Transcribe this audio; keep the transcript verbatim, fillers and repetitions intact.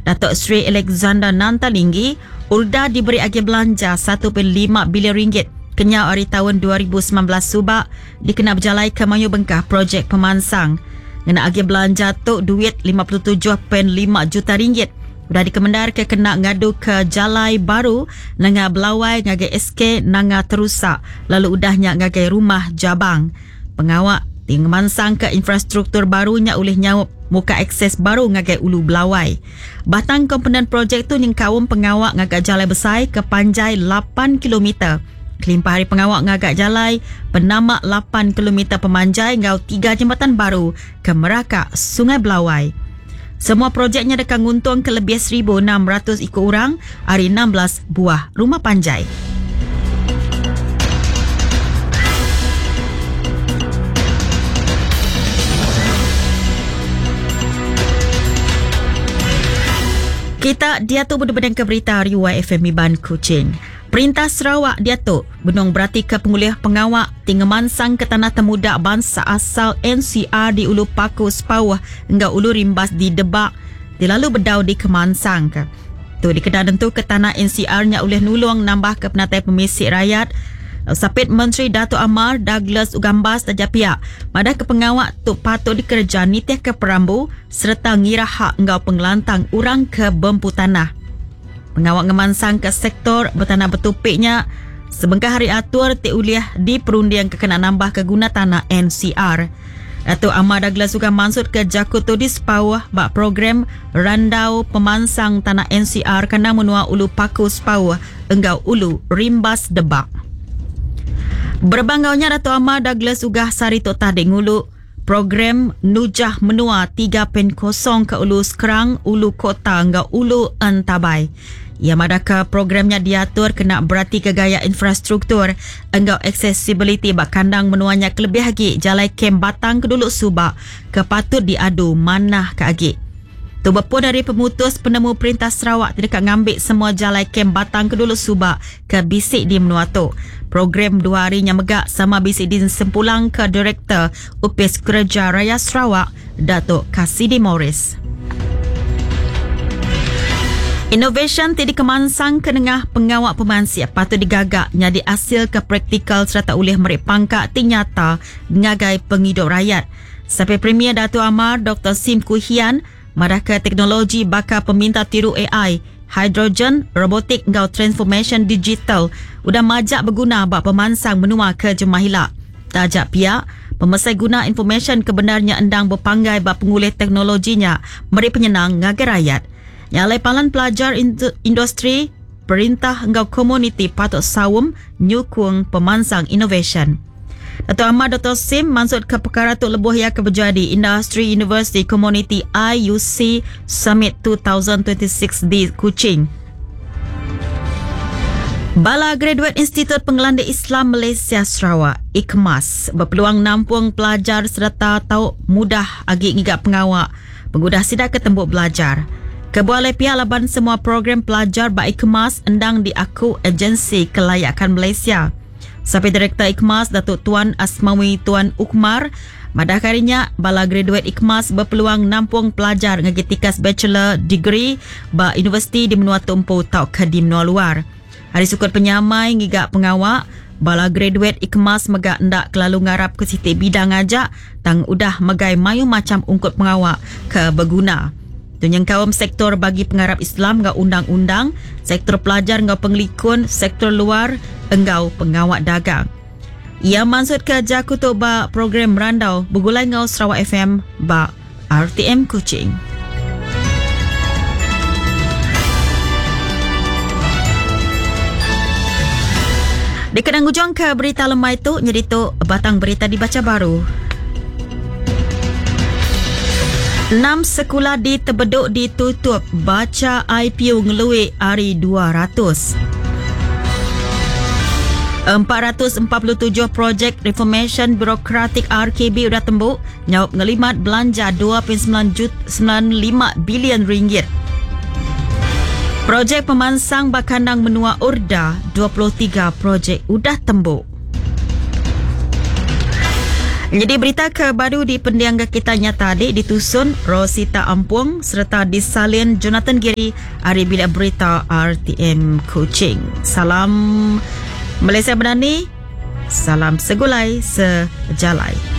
Datuk Seri Alexander Nanta Linggi, Urda diberi agi belanja satu perpuluhan lima bilion ringgit kenyau hari tahun dua ribu sembilan belas subak dikena berjalai ke Mayu Bengkah projek pemansang. Ngena agi belanja tu duit lima puluh tujuh perpuluhan lima juta ringgit. Udah dikemendar ke kena ngadu ke jalai baru nengah Belawai ngagai S K Nanga Terusak lalu udahnya ngagai Rumah Jabang. Pengawak tinggi ke infrastruktur barunya oleh nyaup muka akses baru ngagai Ulu Belawai. Batang komponen projek tu nyengkaum pengawak ngagak jalai besar ke panjai lapan kilometer. Kelimpah hari pengawak ngagak jalai penamak lapan kilometer pemanjai ngau tiga jembatan baru ke Meraka Sungai Belawai. Semua projeknya dekat nguntung ke lebih seribu enam ratus ikut orang hari enam belas buah rumah panjai. Kita dia tu berdebadang ke berita hari Y F M Iban Kuching. Perintah Sarawak dia tu benung berarti ke pengulih pengawak tinggi mansang ke tanah temuda bangsa asal N C R di Ulu Paku Sepauh enggau Ulu Rimbas di Debak di lalu bedau di Kemansang ke. Tu dikedah tentu ke tanah N C R-nya oleh nulung nambah ke penatai pemisik rakyat. Sapit Menteri Datuk Amar Douglas Ugambas dan pihak madah ke pengawak tu patut dikerja nitih ke perambu serta ngira hak enggau pengelantang orang ke bempu tanah. Pengawak ngemansang ke sektor bertanah betupiknya sebengkah hari atur ti uliah di perundian ke kena nambah ke guna tanah N C R. Datuk Amar Douglas juga maksud ke Jaku tu di Sepauh bak program Randau Pemansang Tanah N C R kena menua Ulu Paku Sepauh enggau Ulu Rimbas Debak. Berbanggaunya Datuk Amar Douglas Ugah Sari Tok Tadi ngulu program Nujah Menua tiga perpuluhan kosong ke Ulu Skrang, Ulu Kota enggau Ulu Entabai. Ia madaka programnya diatur kena berarti ke gaya infrastruktur enggau accessibility bak kandang menuanya kelebih lagi jalai kem Batang ke dulu subak ke patut diadu manah ke agi. Tu berpun dari pemutus penemu Perintah Sarawak tidak ngambil semua jalai kem Batang ke dulu subak ke bisik di menua tu. Program dua hari yang megak sama bisik di sempulang ke Direktur Upis Kerja Raya Sarawak, Datuk Cassidy Morris. Innovation ti dikemansang ke nengah pengawak pemansia patut digagak nyadi hasil ke praktikal serta ulih merik pangkat ti nyata ngagai penghidup rakyat. Sampai Premier Datuk Amar Doktor Sim Kui Hian marah ke teknologi bakal peminta tiru A I, hidrogen, robotik ngau transformation digital udah majak berguna bak pemansang menua ke Jemahila. Tajak pihak pemesai guna information kebenarnya endang berpanggai bak pengulih teknologinya meri penyenang ngagai rakyat. Nyalai palan pelajar industri, perintah enggau komuniti patut sawum nyukung pemansang innovation. Datuk Amar Doktor Sim maksud ke perkara tu lebuh ia ke berjadi Industry University Community I U C Summit dua ribu dua puluh enam di Kuching. Bala Graduate Institut Pengelanda Islam Malaysia Sarawak, IKMAS, berpeluang nampung pelajar serta tau mudah agi ngigap pengawak pengudah sidak ke tembuk belajar. Kebuah pihak laban semua program pelajar ba IKMAS endang diaku Agensi Kelayakan Malaysia. Sampai Direktur IKMAS Datuk Tuan Asmawi Tuan Ukmar, madah karinya bala graduate IKMAS berpeluang nampung pelajar ngagi tikas bachelor degree ba universiti di menua tumpu tau ke di menua luar. Hari sukut penyamai ngigak pengawak, bala graduate IKMAS megak ndak kelalu ngarap ke siti bidang ajak tang udah megai mayu macam ungkut pengawak ke berguna. Tunyang kaum sektor bagi pengarap Islam ngau undang-undang, sektor pelajar ngau pengelikun, sektor luar engau pengawak dagang. Ia maksud ke jaku tu ba program Randau bergulai ngau Sarawak F M ba R T M Kuching. Dekat ujung ke berita lemai tu, jadi tu batang berita dibaca baru. Enam sekolah di Tebeduk ditutup baca I P U ngeluik hari dua ratus. Empat ratus empat puluh tujuh projek Reformation Birokratik R K B udah tembuk nyaup ngelimat belanja dua perpuluhan sembilan jut-, sembilan lima bilion ringgit. Projek pemansang Bakandang Menua Urda dua puluh tiga projek udah tembuk. Jadi berita ke baru di pendiang kita nyata adik ditusun Rosita Ampung serta disalin Jonathan Giri hari Bilik Berita R T M Kuching. Salam Malaysia Madani, salam segulai sejalai.